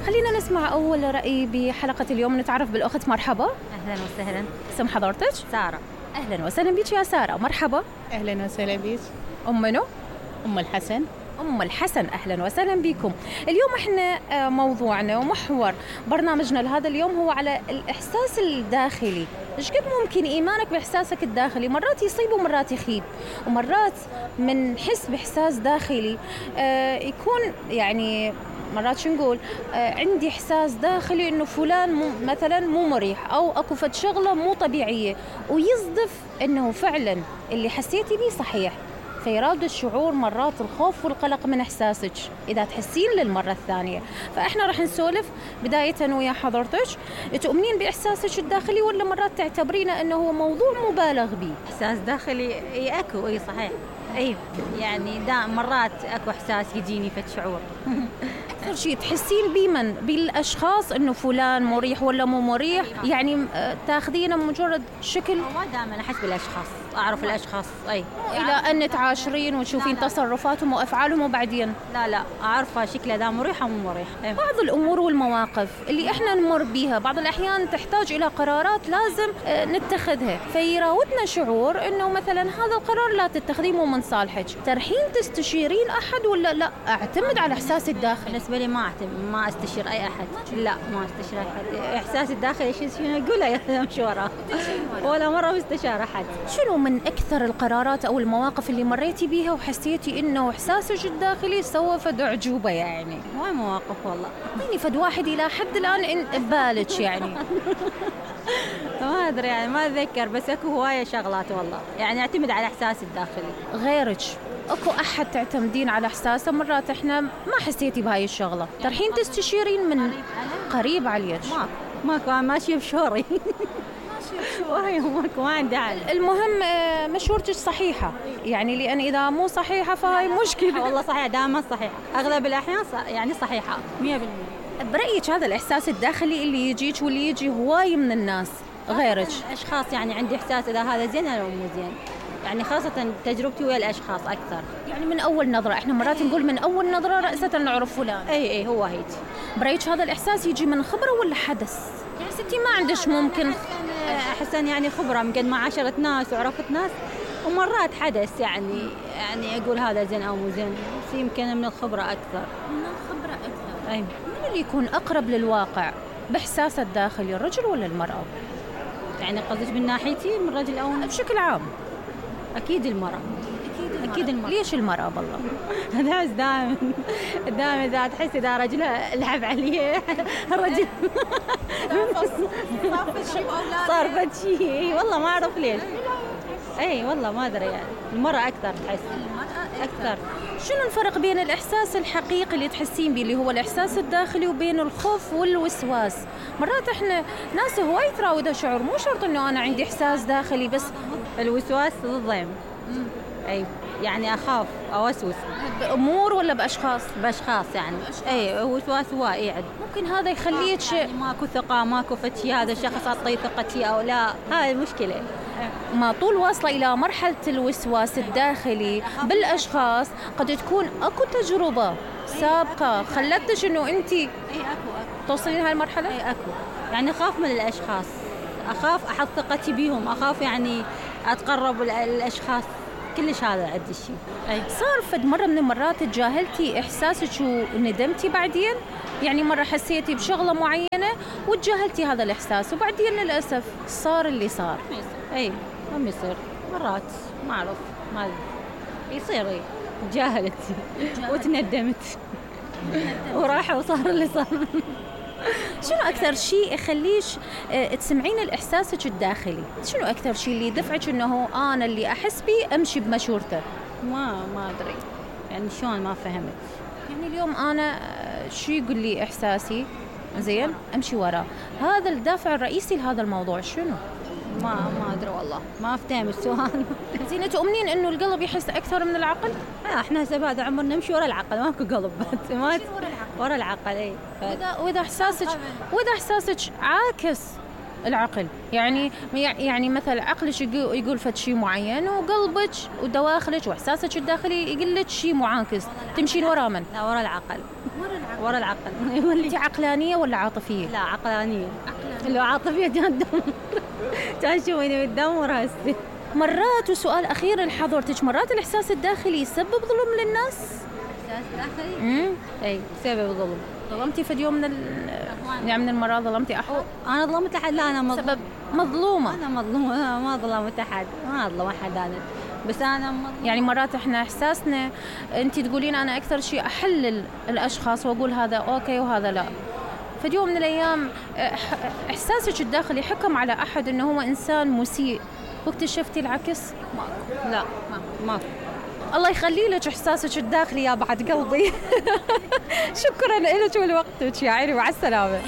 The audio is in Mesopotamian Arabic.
خلينا نسمع أول رأي بحلقة اليوم. نتعرف بالأخت. مرحبا. أهلا وسهلا. اسم حضرتك؟ سارة. أهلا وسهلا بك يا سارة. مرحبا. أهلا وسهلا بك. أم منو؟ أم الحسن. أم الحسن، أهلا وسهلا بكم. اليوم إحنا موضوعنا ومحور برنامجنا لهذا اليوم هو على الإحساس الداخلي. إيش قد ممكن إيمانك بإحساسك الداخلي مرات يصيب ومرات يخيب، ومرات من حس بإحساس داخلي يكون يعني مرات شو نقول عندي إحساس داخلي إنه فلان مثلا مو مريح أو أكو فد شغلة مو طبيعية، ويصدف إنه فعلا اللي حسيتي بيه صحيح، فيراد الشعور مرات الخوف والقلق من إحساسك إذا تحسين للمرة الثانية. فإحنا رح نسولف بداية ويا حضرتك، تؤمنين بإحساسك الداخلي ولا مرات تعتبرينه أنه هو موضوع مبالغ به؟ إحساس داخلي أكو صحيح يعني مرات أكو إحساس يجيني فد شعور. أكثر شيء تحسين بيه من بالأشخاص إنه فلان مريح ولا مو مريح؟ يعني تاخذينه مجرد شكل؟ ما دائما أحس بالأشخاص، أعرف الأشخاص إلى أن تعاشرين وتشوفين تصرفاتهم وأفعالهم وبعدين لا أعرفها شكله ذا مريح أو مو مريح. بعض الأمور والمواقف اللي إحنا نمر بيها بعض الأحيان تحتاج إلى قرارات لازم نتخذها، فيراودنا شعور إنه مثلا هذا القرار لا تتخذيه مو من صالحك. ترحين تستشيرين أحد ولا لا أعتمد على إحساسي الداخلي؟ بالنسبة لي ما أستشير أي أحد. لا ما أستشير أي أحد. إحساسي الداخلي شنو أقوله يا مشورة ولا مرة مستشار أحد. شنو من أكثر القرارات أو المواقف اللي مريتي بيها وحسيتي إنه إحساسك الداخلي سوى فد أعجوبة يعني؟ ما مواقف والله. أعطيني فد واحد إلى حد الآن ببالك يعني. ما أدري يعني ما أتذكر، بس أكو هواية شغلات والله يعني أعتمد على إحساسي الداخلي. غيرك أكو أحد تعتمدين على إحساسه؟ مرات إحنا ما حسيتي بهاي الشغلة ترحين تستشيرين من قريب عليك؟ ماكو ماشية بشوري. ماكو ما عندي حل. المهم مشورتك صحيحة يعني، لأن إذا مو صحيحة فهاي مشكلة. والله صحيحة دائما صحيحة، أغلب الأحيان يعني صحيحة 100%. برأيك هذا الإحساس الداخلي اللي يجيك واللي يجي هواي من الناس غيرك؟ أشخاص يعني عندي إحساس إذا هذا زين أو مو زين، يعني خاصة تجربتي ويا الأشخاص أكثر. يعني من أول نظرة، إحنا مرات نقول من أول نظرة رأسة نعرف فلان. أي هو هيك. برأيك هذا الإحساس يجي من خبرة ولا حدث؟ يعني ستي ما عندش ممكن أحسن يعني خبرة من قد ما عاشرت ناس وعرفت ناس، ومرات حدث يعني أقول هذا زين أو مو زين، بس يمكن من الخبرة أكثر. أي. من اللي يكون أقرب للواقع بإحساسه الداخلي، الرجل ولا المرأة؟ يعني قصدك من ناحيتي من رجل أو بشكل عام؟ أكيد المرأة. أكيد المرأة. ليش المرأة بالله؟ دائما إذا تحس إذا رجلها لعب عليه الرجل صار شيء والله ما أعرف ليش. والله ما أدري يعني المرأة أكثر تحس. أكثر. شنو الفرق بين الإحساس الحقيقي اللي تحسين به اللي هو الإحساس الداخلي وبين الخوف والوسواس؟ مرات إحنا ناس هواي تراودها شعور، مو شرط إنه أنا عندي إحساس داخلي بس. الوسواس ضد يعني أخاف أو أوسوس بأمور ولا بأشخاص؟ بأشخاص يعني. وسواس واعد. ممكن هذا يخليك يعني ماكو ثقة، ماكو فتشي هذا الشخص أعطيه ثقتي أو لا، هاي المشكلة. ما طول واصلة إلى مرحلة الوسواس الداخلي بالأشخاص قد تكون أكو تجربة سابقة خلتش إنه أنت توصلين هاي المرحلة؟ أكو يعني أخاف من الأشخاص، أخاف أحط ثقتي بيهم، أخاف يعني أتقرب الأشخاص، كلش هذا عندي شيء. صار فد مرة من المرات تجاهلتي إحساسك وندمتي بعدين؟ يعني مرة حسيتي بشغلة معينة وتجاهلتي هذا الإحساس وبعدين للأسف صار اللي صار. ما يصير مرات ما أعرف ما يصير. تجاهلت وتندمت وراح وصار اللي صار. شنو أكثر شيء يخليش تسمعين الإحساسك الداخلي؟ شنو أكثر شيء اللي يدفعك إنه أنا اللي أحس بيه أمشي بمشورته؟ ما أدري يعني شلون، ما فهمت. يعني اليوم أنا شو يقول لي إحساسي زين أمشي وراه، هذا الدافع الرئيسي لهذا الموضوع شنو؟ ما أدري والله، ما أفتهم السؤال. زين تؤمنين إنه القلب يحس أكثر من العقل؟ إحنا هسه بعد عمرنا نمشي ورا العقل، ماكو قلب ورا العقل. وإذا إحساسك عاكس العقل يعني مثلا عقلك يقول فد شيء معين، وقلبك ودواخلك واحساسك الداخلي يقول لك شيء معاكس، تمشين ورا من؟ لا، ورا العقل. ورا العقل. انت عقلانيه ولا عاطفيه؟ لا، عقلانيه. لو عاطفيه كان كان شويني بتدمر هسه. مرات، وسؤال اخير لحضرتك، مرات الاحساس الداخلي يسبب ظلم للناس؟ احساس داخلي؟ اي، سبب ظلم. ظلمتي في اليوم من المرات ظلمتي احد؟ انا ظلمت احد؟ لا، انا سبب مظلومه. انا مظلومه، أنا ما ظلمت احد، ما ظلم احد انا، بس انا يعني مرات احنا احساسنا، انت تقولين انا اكثر شيء احلل الاشخاص واقول هذا اوكي وهذا لا. في يوم من الايام احساسك الداخلي حكم على احد انه هو انسان مسيء واكتشفتي العكس؟ ماكو. لا، ماكو. الله يخلي لك احساسك الداخلي يا بعد قلبي. شكرا لك ولوقتك يا عيني، مع السلامه.